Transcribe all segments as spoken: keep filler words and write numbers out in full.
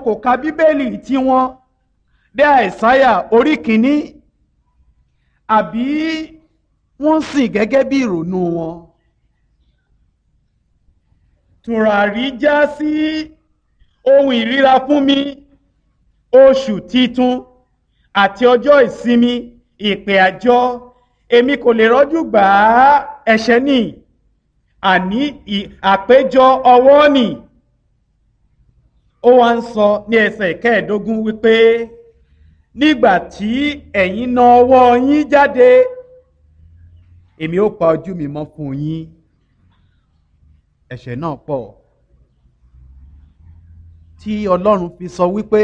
Kò ka Bíbélì tiwọn dé Àìsáyà orí kìíní, àbí wọ́n sìn gẹ́gẹ́ bí ìrònú wọn. Tùràrí já sí ohun ìríra fún mi, oṣù titun àti ọjọ́ ìsinmi, ìpè àjọ, èmi kò lè rọ́jú gbà á. Ẹ̀ṣẹ̀ nì, àní àpéjọ ọwọ́ nì. Ó wá ń sọ ní ẹsẹ̀ kẹẹ̀ẹ́dógún wípé nígbà tí ẹ̀yin na ọwọ́ yín jáde, èmi ó pa ojú mi mọ́ fún yín. Ẹ̀ṣẹ̀ náà pọ̀ tí Ọlọ́run fi sọ wípé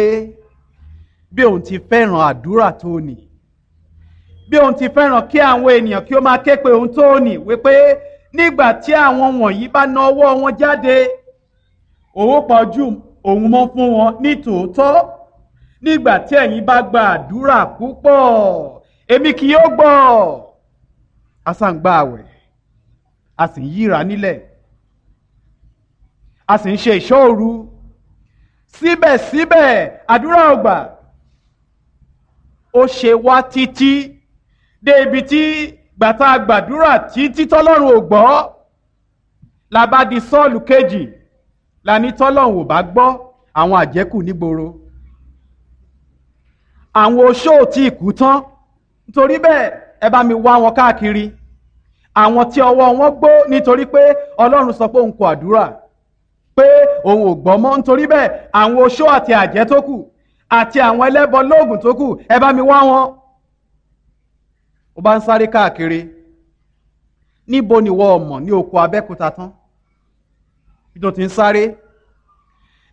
bí òun ti fẹ́ràn àdúrà tó nì, bí òun ti fẹ́ràn kí àwọn ènìyàn kí ó máa ké pe òun tó nì, wípé nígbà tí àwọn wọ̀nyí bá na ọwọ́ wọn jáde, òun ó pa ojú òun mọ́ fún wọn ní tòótọ́. Nígbà tí ẹ̀yin bá gba àdúrà púpọ̀, èmi kì yóò gbọ́. A sá ń gba àwẹ̀, a sì ń yíra nílẹ̀, a sì ń ṣe ìṣọ́ òru, síbẹ̀síbẹ̀ àdúrà ò gbà. Ó ṣe wá títí dé ibi tí gbàtà gbàdúrà títí tọ́lọ́run ò gbọ́, la bá di Sọ́ọ̀lù kejì, la ní tọ́lọ́run ò bá gbọ́, àwọn àjẹ́kù nígboro, àwọn oṣó ò tí ì kú tán, nítorí bẹ́ẹ̀ ẹ bá mi wá wọn káàkiri, àwọn tí ọwọ́ wọn gbó, nítorí pé Ọlọ́run sọ pé òun kò àdúrà, pé òun ò gbọ́ mọ́, nítorí bẹ́ẹ̀ àwọn oṣó àti àjẹ́ tó kù àti àwọn ẹlẹ́bọ lóògùn tó kù, ẹ bá mi wá wọn. Ó bá ń sáré káàkiri, níbo ni wọ́n mọ̀ ní oko Abẹ́òkúta tán tó ti ń sáré?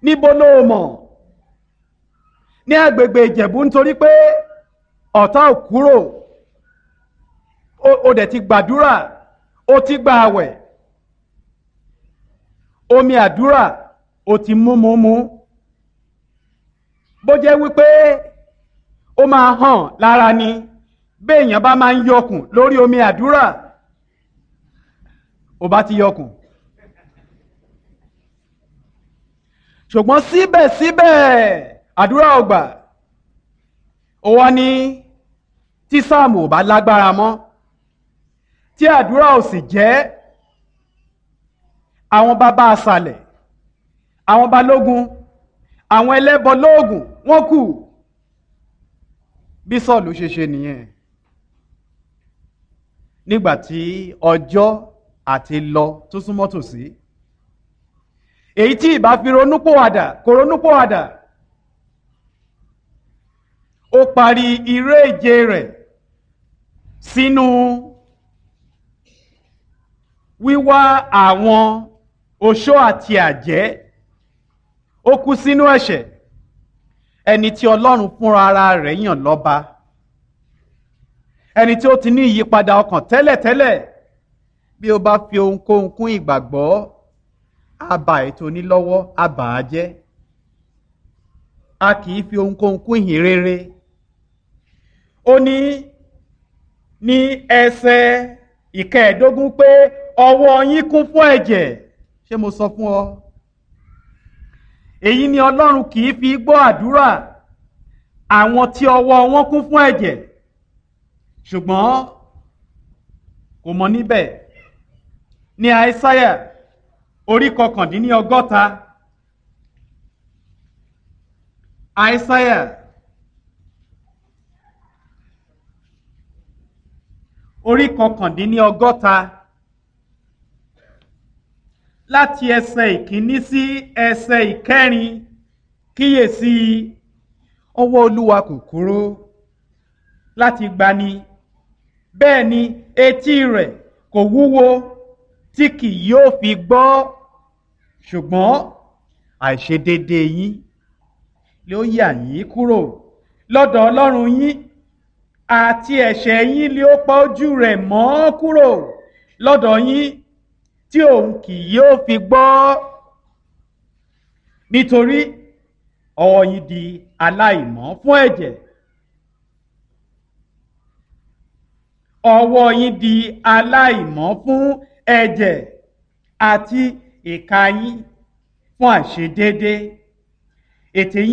Níbo ló mọ̀ ní agbègbè Ìjẹ̀bú? Nítorí pé ọ̀tá ò kúrò. Ó dẹ̀ ti gbàdúrà, ó ti gba àwẹ̀, omi àdúrà ó ti mú mú mú, bó jẹ́ wípé ó máa hàn lára ni béèyàn bá máa ń yọkùn lórí omi àdúrà, ó bá ti yọkùn. Ṣùgbọ́n síbẹ̀síbẹ̀ àdúrà ò gbà. Ó wá ní tí sáàmù ò bá lágbára mọ́, tí àdúrà ò sì jẹ́, àwọn bàbá àṣàlẹ̀, àwọn balógun, àwọn ẹlẹ́bọ lóògùn wọ́n kù. Bí Sọ́ọ̀lù ṣe ṣe nìyẹn nígbà tí ọjọ́ àti lọ tó súnmọ́ tòsí, èyí tí ìbá fi ronúpòwàdà kò ronúpòwàdà, ó parí iré ìje rẹ̀ sínú wíwá àwọn oṣó àti àjẹ́. Ó kú sínú ẹ̀ṣẹ̀, ẹni tí Ọlọ́run fúnra ara rẹ̀ yàn lọ́ba, ẹni tí ó ti ní ìyípadà ọkàn tẹ́lẹ̀tẹ́lẹ̀. Bí ó bá fi ohunkóhun kún ìgbàgbọ́, á ba ètò onílọ́wọ́, á bà á jẹ́. A kì í fi ohunkóhun kún ìhìn rere. Ó ní ní ẹsẹ̀ ìkẹẹ̀ẹ́dógún pé ọwọ́ yín kún fún ẹ̀jẹ̀. Ṣé mo sọ fún ọ? Èyí ni Ọlọ́run kì í fi gbọ́ àdúrà àwọn tí ọwọ́ wọn kún fún ẹ̀jẹ̀. Ṣùgbọ́n kò mọ níbẹ̀. Ní Àìsáyà orí kọkàndínní ọgọ́ta, Àìsáyà orí kọkàndínní ọgọ́ta, láti ẹsẹ̀ ìkíní sí ẹsẹ̀ ìkẹrin, kíyèsí, ọwọ́ Olúwa kò kúrú láti gbani, bẹ́ẹ̀ ni etí rẹ̀ kò wúwo tí kì yóò fi gbọ́, ṣùgbọ́n àìṣedéédé yín ló yà yín kúrò lọ́dọ̀ Ọlọ́run yín, àti ẹ̀ṣẹ̀ yín ló pa ojú rẹ̀ mọ́ kúrò lọ́dọ̀ yín tí òun kì yóò fi gbọ́. Nítorí ọwọ́ yín di aláìmọ́ fún ẹ̀jẹ̀, ọwọ́ yín di aláìmọ́ fún ẹ̀jẹ̀, àti ìka yín fún àìṣedéédé. Ètè yín